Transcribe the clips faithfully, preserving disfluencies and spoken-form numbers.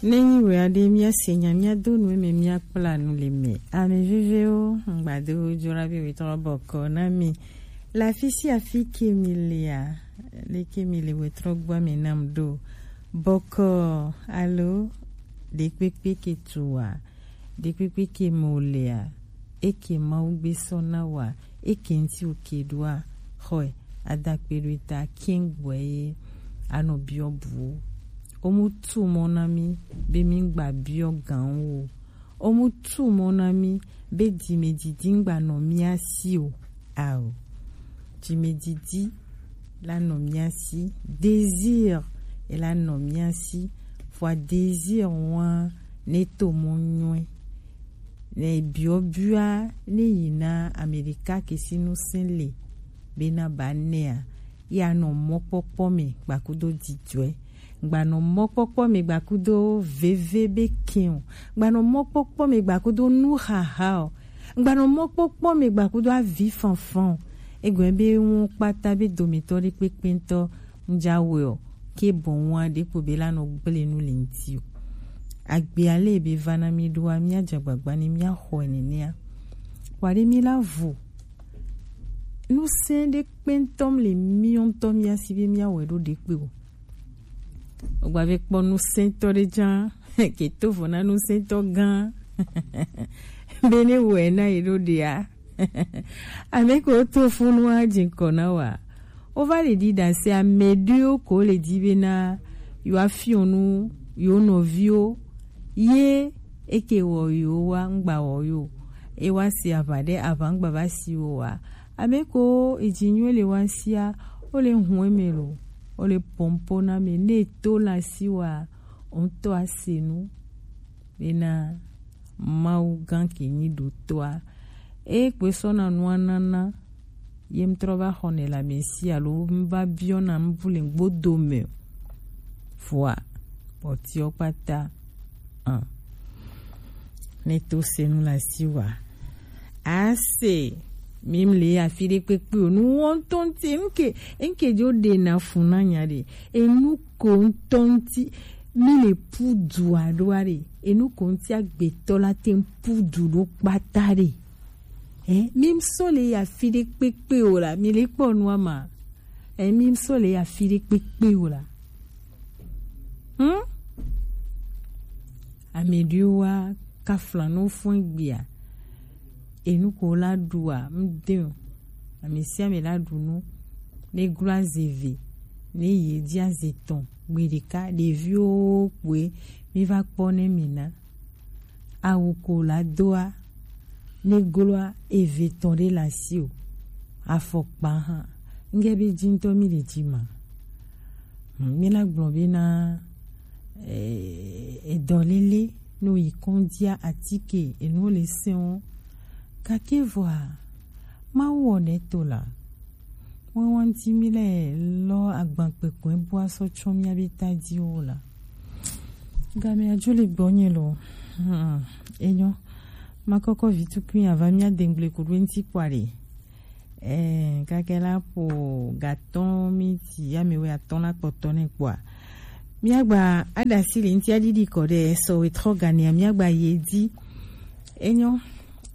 Nenyi wea ɖe míase nya míado nu eme míakpla nu le me. Ame vevewo, ŋgbado jora be wetrɔ bɔkɔ na mi. Le afi sia afi ke mi lea, leke mi le wetrɔ gbɔ me nam ɖo. Bɔkɔ alo ɖekpekpe ke tua, ɖekpekpe ke mo lea, eke Mawu gbe sɔ na wa, eke ŋti oke ɖoa, xɔe, adakpe ɖo eta kiŋ gbɔe ye anɔ biɔ buwo. Omu tu mɔ na mi be mi gba biɔ gan wo. Omu tu mɔ na mi be dime didi gba nɔ mia si o. Ao. Dime didi la nɔ mia si. Désir e la nɔ mia si. Fua désir wa ne to mɔ nyɔe. Ne biɔ biɔ ne yi na Amerika ke si nu se le be na ba nea. Ya nɔ mɔkpɔkpɔ me gbakudo didɔe. Gbanɔ mɔkpɔkpɔ me gbakudo veve be kɛn o. Gbanɔ mɔkpɔkpɔ me gbakudo nu haha o. Gbanɔ mɔkpɔkpɔ me gbakudo avi fanfan o. Egɔn be ŋu kpata be dometɔ ɖe kpekpe ŋtɔ ŋdza wɛ o. Ke bɔn wa ɖe kpo be la nɔ gble nu le ŋti o. Agbe ale be va na mi ɖoa, mia dza gbagba ni mia xɔe nenea. Wa ɖe mi la vo. Nu se ɖe kpe ŋtɔ le mi ŋtɔ mia si be mia wɛ ɖo ɖe kpe o. Ogba ve kpɔ nusɛntɔ ɖe dza ke to vo na nusɛntɔ gã. Be ne wɛ na yi ɖo ɖea. Ame ko to funu a dzi kɔ na wa. O va le ɖi ɖase ame ɖewo ko le dzi be na yo afiɔ nu yo nɔviwo ye eke wɔ yo wa ŋgba wɔ yo. E wa si aʋa ɖe aʋa ŋgba va si wo wa. Ame ko edzi nyuie le wa sia, o le hun eme lo, o le pɔnpɔ na me ne to la si wa, o ŋtɔ ase nu. Bena Mawu gã ke nyi ɖotɔa. E kpe sɔ na nua nana, ye ŋtrɔ va xɔ ne la me si alo ŋva biɔ na ŋvu le ŋgbodo me. Vɔa, kpɔtiɔ kpata, an. Ne to se nu la si wa. Ase, mi mle afi ɖe kpekpe o. Nu wɔntɔ ŋti, ŋke, ŋke dzo ɖe na fu na nya ɖe. Enu ko ŋtɔ ŋti, mi le pu du aɖo aɖe. Enu ko ŋti agbetɔ la te ŋ pu du ɖo kpata ɖe. Eh, mi ŋsɔ le yi afi ɖe kpekpe o la, mi le kpɔ nua ma. Eh, mi ŋsɔ le yi afi ɖe kpekpe o la. Hmm? Ame ɖewo wa kafla no fún gbia. Enu ko la ɖua, ŋde o. Ame sia ame la ɖu nu. Ne glo aze ve, ne ye dzi aze tɔn, gbe ɖeka, ɖeviwo kpoe, mi va kpɔ ne mi na. Awu ko la doa, ne gloa eve tɔn ɖe la si o. Afɔkpa hã. Ŋge be dzi ŋtɔ mi le dzi ma. Hmm, mi la gblɔ be na, eh, edɔlele no yi kɔndzia atike enu le sɛn o. Gake vɔa, Mawu wɔ ne to la. Ŋuɛwa ŋti mi le lɔ agbankpekpe bua sɔ tsɔ mia be ta dzi wo la. Game adzo le gbɔ nye lo. Hmm, enyo. Ma kɔkɔ vi tukui ava mia dengble kuɖo ŋti kpɔ aɖe. Eh, kake la po gatɔn mi ti ame wɛ atɔn la kpɔtɔ ne kpɔa. Mia gba aɖasi le ŋti aɖiɖi kɔ ɖe sɔ wɛ trɔ gania mia gba ye di. Enyo.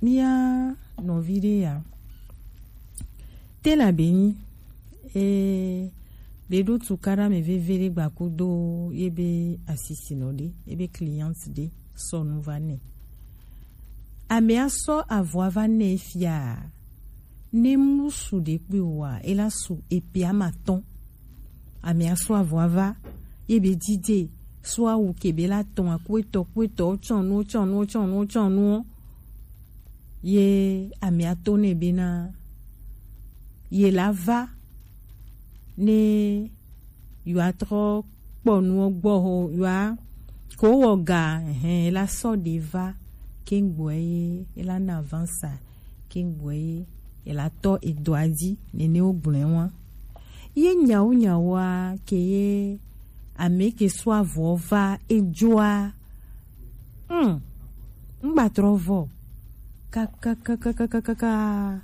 Mia nɔvi ɖe ya. Te la be nyi, e, be ɖo tukaɖa me veve ɖe gbakudo ye be asisinɔ ɖe, ye be client ɖe sɔ nu va nɛ. Amea sɔ avɔa va nɛ fia, ne mu su ɖe kpe wa, e la su epe amatɔn. Amea sɔ avɔa va, ye be dide, sɔ awu ke be la tɔn akuetɔ, kuetɔ, tsɔnu, tsɔnu, tsɔnu, tsɔnu. Ye amea to nɛ bena ye la va ne yewoa trɔ kpɔ nuwo gbɔ ho yewoa ko wɔ ga, hɛn, la sɔ ɖe va kengboɛ ye la na avansa kengboɛ ye la tɔ edɔa dzi nene wo gblɔɛ wa. Ye nyawo nyawoa ke ye ame ke sɔ avɔ va edzoa. Hmm. Ŋgba trɔ vɔ. Kakakakakakaka.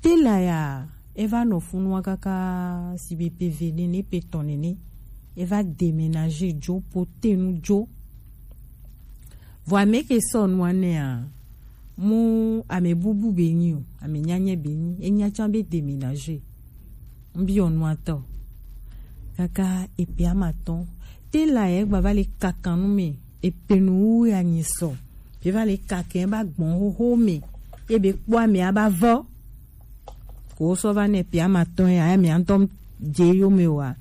Te la ya, e va nɔ funua kaka si be pe ve nene, pe tɔn nene. E va déménager dzo, po te nu dzo. Vɔ ame ke sɔ nua nɛa, mu ame bubu be nyi o, ame nyanyɛ be nyi, enya can be déménager. Ŋbiɔ nua tɔ. Kaka epe ama tɔn. Te la yɛ gba va le kakan nu me, epe nu wu ya nyi sɔ. Be va le kakɛ ba gbɔn xoxo me. Ye be kpɔ ame aba vɔ. Ko sɔ va nɛ pe ama tɔn ya, ame antɔ je yo me wa.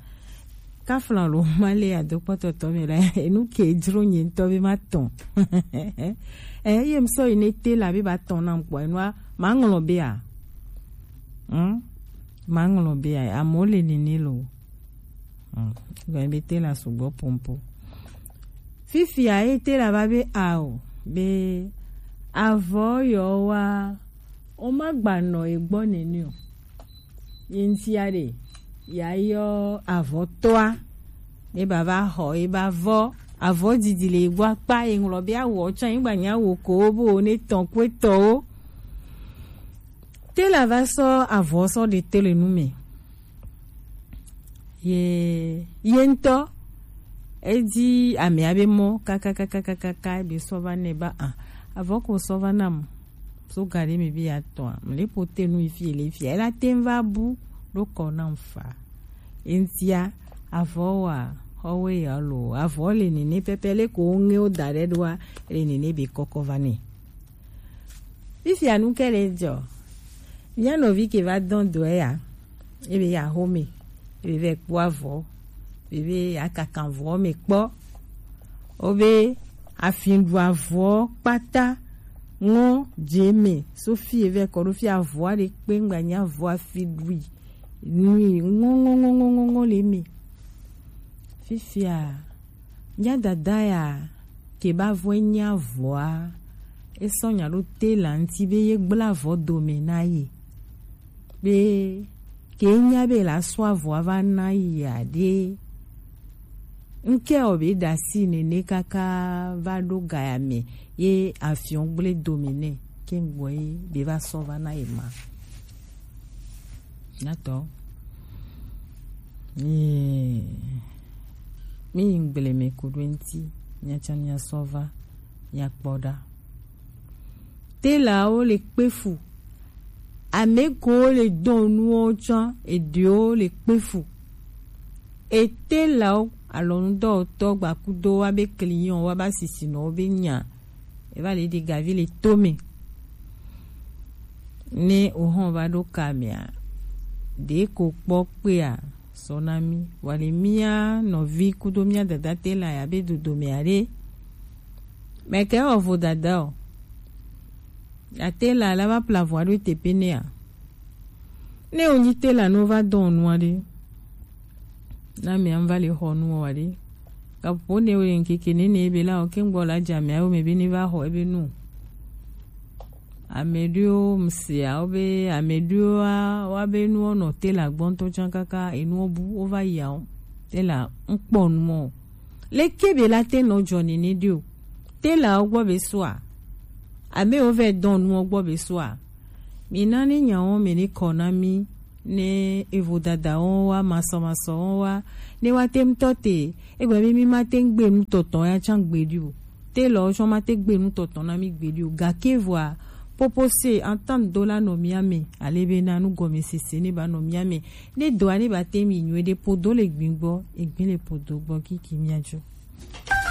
Kafla lo ma le ado kpɔtɔtɔ me la, enu ke jro nye ŋtɔ be ma tɔn. Eh, ye m sɔ yi ne te la be ba tɔn na m kpɔ, enua, ma ŋlɔ be a. Hmm? Ma ŋlɔ be a, amo le nene lo. Hmm. Gɔn be te la sugbɔ pompo. Fifia ye te la va be a o, be avɔ yɔ wa, o ma gba nɔ e gbɔ nene o. Ye ŋtia ɖe, ya yɔ avɔ tɔa, ne ba va xɔ, e ba vɔ, avɔ didi le e gbɔ akpa, e ŋlɔ be awɔ tsã, e gba nya wo ko bo ne tɔn kue tɔ o. Te la va sɔ avɔ sɔ ɖe te le nu me. Ye, ye ŋtɔ, edi amea be mɔ, kakakakakaka, ebe sɔ va nɛ ba, ah, avɔ ko sɔ va nam. So ga ɖe me be ya tɔa, mle po te nu ifi le ifi. Ela te va bu, ɖo kɔ nam fa. Eŋtia, avɔ wa, xɔwe ya lo, avɔ le nene pɛpɛ le ko ŋe o da ɖe ɖoa, le nene be kɔkɔ va nɛ. Fifia nu ke le dzɔ. Mía nɔvi ke va dɔn dɔe ya. Ebe ya xome. Ebe vɛ kpɔ avɔ. Ebe ya kakan avɔ me kpɔ. Obe afin ɖu avɔ kpata. Ŋɔ dze me. Sofi evɛ kɔ ɖo fi avɔ aɖe kpe ŋgba nya avɔ afi ɖui. Nui ŋɔ ŋɔ ŋɔ ŋɔ ŋɔ ŋɔ le me. Fifia. Nya dada ya ke ba vɔe nya vɔa, esɔ nya ɖo te la ŋti be ye gbla avɔ dome na ye. Be ke nya be la sɔ avɔa va na ye aɖe. Ŋke o be dasi nene kaka va ɖo gaya me ye afiɔn gble dome nɛ ke ŋgbɔ ye be va sɔ va na ye ma. Nyatɔ. Ee, mi yi ŋgble me ku ɖo ŋti, miatsa miasɔ va, miakpɔ ɖa. Telawo le kpe fu. Ame kewo le dɔn nuwo tsã, eɖewo le kpe fu. E telawo alɔnudɔwɔtɔ gbakudo wa be client wa ba sisinɔwo be nya. E va le ɖi gavi le to me. Ne o hɔn va ɖo ka mea, ɖe ko kpɔ kpea, sɔ na mi. Wa le mia nɔvi kudo mia dada tela ya be dodo mea ɖe. Mɛ kɛ wɔ vo dada o. Ya tela la va pla vo aɖo tepe nea. Ne o nyi tela no va dɔn nua ɖe. Na mea va le xɔ nua ɖe. Kapo ne o le ŋkeke nene be la o ke ŋgbɔ la dza mea o me be ne va xɔ ebe nu. Ame ɖewo msea wo be ame ɖewo wa be nuwo nɔ tela gbɔ ŋutɔ tsã kaka enuwo bu wova yia wo tela ŋkpɔ nuwo. Leke be la te nɔ dzɔ nene ɖe o. Tela wo gbɔ be soa. Ame wo vɛ dɔn nuwo gbɔ be soa. Mi na ne nyawo me ne kɔ na mi ne evo dada wo wa masɔ masɔ wo wa ne wa te ŋutɔ te egbe be mi ma te ŋgbe nu tɔtɔ ya tsã gbeɖi o. Telɔ tsɔ ma te gbe nu tɔtɔ na mi gbeɖi o. Gake vɔa popo se entente do la nɔ mia me ale be na nu gɔme sese ne ba nɔ mia me ne dɔa ne ba te mi nyuie ɖe podo le gbin gbɔ egbe le podo gbɔ kiki mia dzo.